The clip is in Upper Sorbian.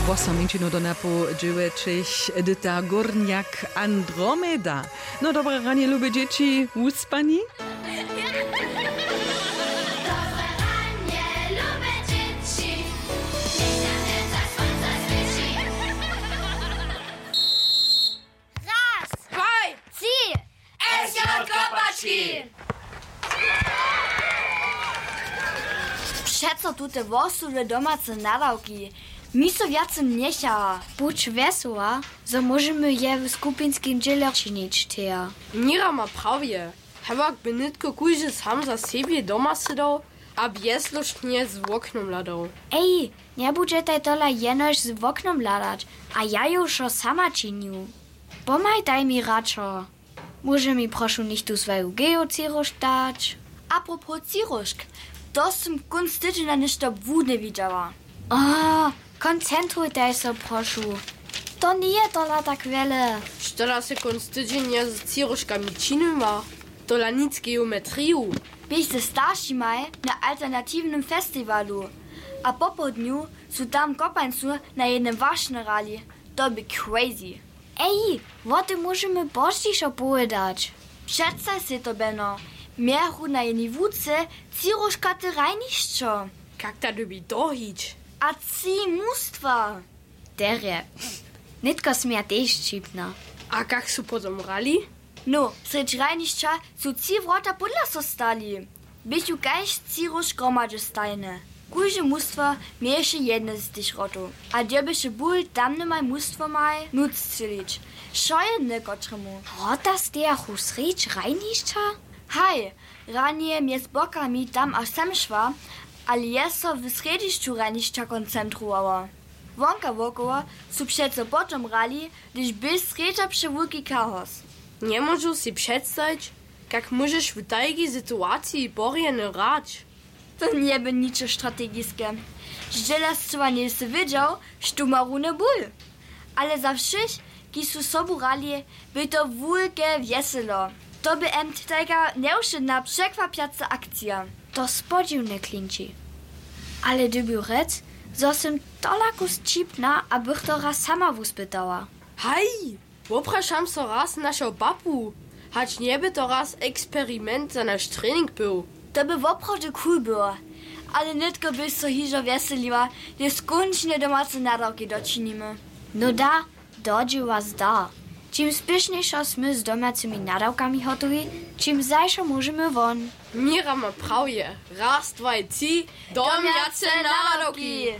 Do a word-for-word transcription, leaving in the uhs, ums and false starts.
Wosom minčinu do napoł dźěłećich dyta górnjak Andromeda. No dobre ranje, lube dźěći, wuspani? Raz, dwaj, tři! S J Kopački! Přeco tute wosudy domace nadawki mi so wjace njechaja. Budź wjesoła, zo móžemy je w skupinskim dźěle činić, Thea. Mira ma prawje. Hewak by nětko kóždy sam za sebje doma sydał a bjezložnje z woknom hladał. Ej, njebudźetaj tola jenož z woknom hladać, a ja ju wšo sama činju. Pomhajtaj mi radšo. Móže mi prošu něchtó swaju geocyróžk dać? Apropos cyróžk, to sym kónc tydźenja něšto błudne widźała. A, koncentrujtaj so, prošu. To njeje tola tak wjele. Što da sy kónc tydźenja z cyróžkami činiła? Tola nic geometriju. Běch ze staršimaj na alternatiwnym festiwalu a popołdnju su tam w Kopańcu na jednym wašnje hrali. To bě crazy. Ej, wo tym móžemy pozdźišo powědać. Předstaj sej to, Beno. Mějachu na jenej łuce tři róžkate hrajnišćo. Kak ta dyrbi dohić? A tři mustwa. Derje. Nětko směja tež ćipna. A kak su potom hrali? No, srjedź hrajnišća su tři wrota pódla so stali. Běchu kaž tři róž hromadźe stajne. Kóžde mustwo měješe jedne z tych wrotow a dyrbješe bul tamnymaj mustwomaj nutř strzělić. Wšo jedne kotremu. Wrota stejachu srjedź hrajnišća? Haj, ranje mjez bokami tam a sem šła, ale je so w srjedźišću hrajnišća koncentrowała. Wonka wokoło su přeco potom hrali, hdyž bě srjedźa přewulki chaos. Njemóžu sej předstajić, kak móžeš w tajkej situaciji porjeny hrać. To njebě ničo strategiske. Zdźěla scyła njejsy wědźał, štó ma runje bul. Ale za wšěch, kiž su sobu hrali, bě to wulke wjeselo. To bě jen tajka njewšědna překwapjaca akcija. To spodźiwne klinči. Ale dyrbju rjec, zo sym tola kus ćipna a bych to raz sama wuspytała. Haj, woprašam so raz našeho papu, hač njebě to raz eksperiment za naš trening był. To bě woprawdźe cool było. Ale nětko běch so hižo wjeseliła, hdyž skónčnje domace nadawki dočinimy. No da, do dźěła zdar. Čim spěšnjejšo smy z domjacymi nadawkami hotowi, čim zašo móžemy won. Mira ma prawje. Raz, dwaj, tři. Domjace nadawki.